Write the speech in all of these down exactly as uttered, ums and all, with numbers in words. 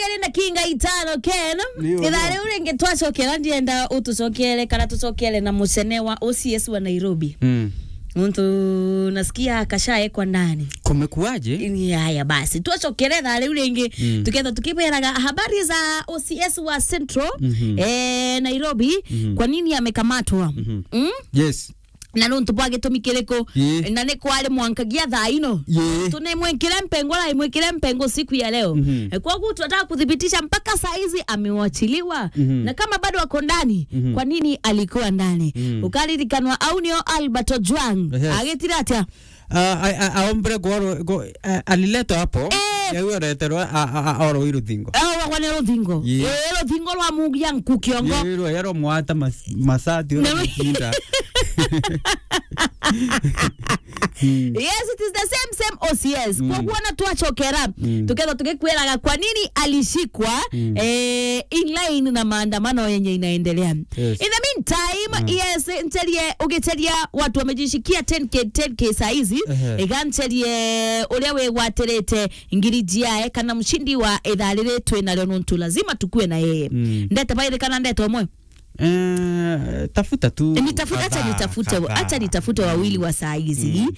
Iri na kinga itano, Ken. Ndio, ithaa ndio. Riu ringi twacokera, ndienda utucokere kana tucokere na mucene wa O C S wa Nairobi. Mm. Nontu nasikia akashaekwa ndani. Kumekuwaje? Ni haya basi. Twacokere ithaa riu ringi, mm, tuketha tukiberaga habari za O C S wa Central, mhm, eh, Nairobi, mhm, kwa nini amekamatwa? Mhm. Mm? Yes. Na nontu bwa gitumi kiriku? Ii. Na ni kwari mwankagia thaa ino? Ii. Tunimwikire mpengo, rai mwikire mpengo siku ya leo. Mhm. Eh, kwoguo tunataka kuthibitisha mpaka saa hizi amewachiliwa. Mhm. Na kama bado ako ndani, mhm, kwa nini alikuwa ndani? Mhm. Ukaririkanwa au nio Albert Ojwang. Yes. Agitire atia? Ah, a, a, aombire goro, go, a, aliletwa hapo. Eh. Yau areterwa, a, a, a, oro i ruthingo. Eh, wagwa ni ruthingo. Ye. Eh, ruthingo rwa mugia nku kiongo. Ye, rwa yaro mwata mas-, masati ora. Na we- matinda. Mm. Yes, it is the same, same O C S. Mm. Kwoguo na twacokera, mm, tuketha tugikwiraga kwa nini alishikwa, mm, eh, in line na maandamano yenye inaendelea. Yes. In the meantime, mm, yes, ncherie, ugicheria watu wamejishikia ten K, ten K saa hizi, ehe, iga ncherie uria wigwatirite ngiri jiae kana mshindi wa ithaa riri twi nario, nontu lazima tukue na yeye. Mm. Ndeta bairi kana ndeta umwe? Eh, tafuta tu. Ni tafuta, acha kadhaa, nitafute, kadhaa, acha nitafute wawili wa saa hizi. Mm.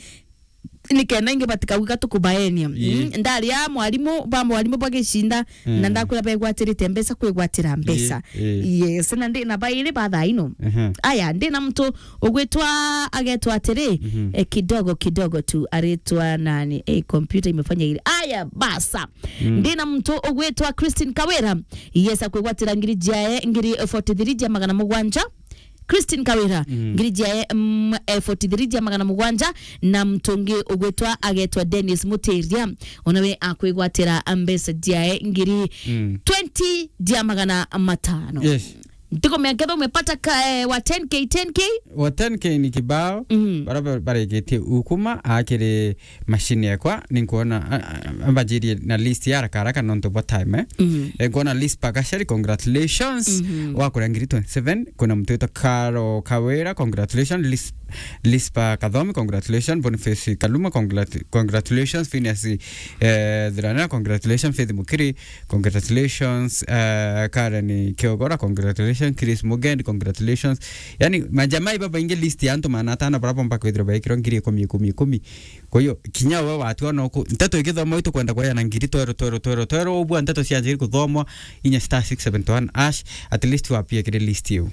Nikenda ingi batikauga tukubaenia. Ii. Mm, ndaria mwarimu, ba mwarimu bagicinda, mm, na ndakwira begwatirite mbeca kwigwatira mbeca. Ii, ii. Yes, na ndi na bairi ba thaa ino. Aha. Aya, ndi na muntu ugwitwa, agetwa atiri, mhm, eh, kidogo kidogo tu, aritwa nani? Eh, kompyuta imefanya hili. Aya, basa. Mm. Ndi na muntu ugwitwa Christine Kawira. Yes, akwigwatira ngiri jiae, ngiri forty-three jia magana mugwanja. Christine Kawira, mm, ngiri jiae, mm, eh, forty-three jia magana mugwanja, na muntu ungi ugwitwa agetwa Dennis Mutiria, ona we akwigwatira mbeca jiae ngiri, mm, twenty jia magana matano. Yes. Ntikumenya ketha umepata ka, eh, wa ten K, ten K? Wa ten K ni kibao, mhm, bara ba-, barikitie ukuma, akiri machine yakwa, ninkuona, a, a, ambanjirie na list ya haraka haraka nontu bwa time, eh. Mhm. Eh, nkuona Lispa Gachari, congratulations. Mhm. Wakuria ngiri twenty-seven, kuna muntu witwa Karo Kawira, congratulations. Lis-, Lispa Kathomi, congratulations. Boniface Kaluma, congratu-, congratulations. Phineas, eh, Thiranira, congratulations. Faith Mukiri, congratulations. Eh, Karen Kiogora, congratulations. Chris Mugendi, congratulations. Yani, majamai babaingi, list ya antu magana atano bara bomba kwithirwa baikirwa ngiri ikumi, ikumi, ikumi. Kwa hiyo, kinya we watua no ku-, nteto igithoma itu kwenda kwaya na ngiri twero, twero, twero, twero, ubua nteto cianjiri kuthomwa, inya star six seven one hash, at least wapie kiri list iu.